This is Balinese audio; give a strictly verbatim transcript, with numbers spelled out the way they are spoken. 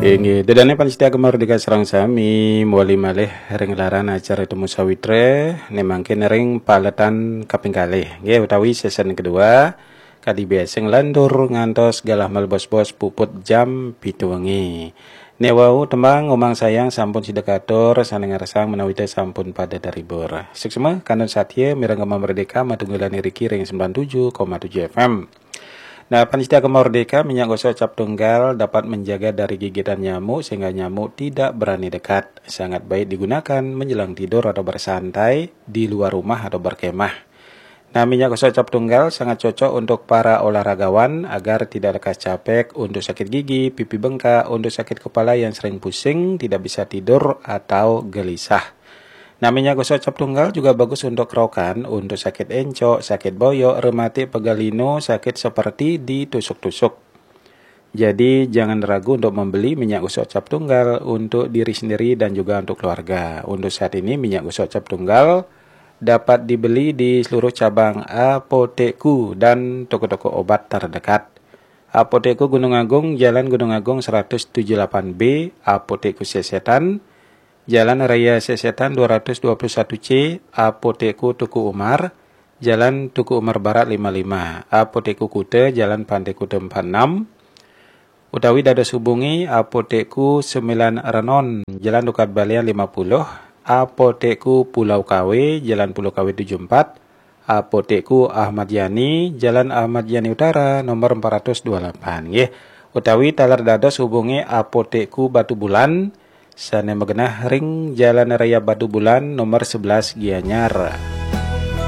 Inggih, dedane pamiarsa Gema Merdeka sareng sami, mawali malih ring laran acara Temu Sawitra, ne mangkin ring paletan kaping kalih. Nggih, utawi season kedua, kadi biasa nglantur ngantos galah malebos-bos puput jam pitu wengi. Ne wau tembang Omang Sayang sampun sida katur, sane ngarsang menawi te sampun pada terhibur. Suksma, kantun satya, mireng Gema Merdeka, matunggilan iriki ring sembilan tujuh koma tujuh F M. Nah, pamiarsa Gema Merdeka, minyak gosok cap tunggal dapat menjaga dari gigitan nyamuk sehingga nyamuk tidak berani dekat. Sangat baik digunakan menjelang tidur atau bersantai di luar rumah atau berkemah. Nah, minyak gosok cap tunggal sangat cocok untuk para olahragawan agar tidak lekas capek, untuk sakit gigi, pipi bengkak, untuk sakit kepala yang sering pusing, tidak bisa tidur atau gelisah. Nah, minyak gosok cap tunggal juga bagus untuk kerokan, untuk sakit encok, sakit boyok, rematik, pegal linu, sakit seperti ditusuk-tusuk. Jadi, jangan ragu untuk membeli minyak gosok cap tunggal untuk diri sendiri dan juga untuk keluarga. Untuk saat ini, minyak gosok cap tunggal dapat dibeli di seluruh cabang Apotekku dan toko-toko obat terdekat. Apotekku Gunung Agung, Jalan Gunung Agung seratus tujuh delapan B, Apotekku Sesetan, Jalan Raya Sesetan dua ratus dua puluh satu C, Apotekku Teuku Umar, Jalan Teuku Umar Barat lima lima, Apotekku Kuta, Jalan Pantai Kuta empat enam, utawi dados hubungi Apotekku Sembilan Renon, Jalan Tukad Balian lima puluh, Apotekku Pulau Kawe, Jalan Pulau Kawe tujuh empat, Apotekku Ahmad Yani, Jalan Ahmad Yani Utara, nomor empat ratus dua puluh delapan, nggih. Utawi taler dados hubungi Apotekku Batubulan, sane magenah ring Jalan Raya Batubulan, nomor sebelas, Gianyar.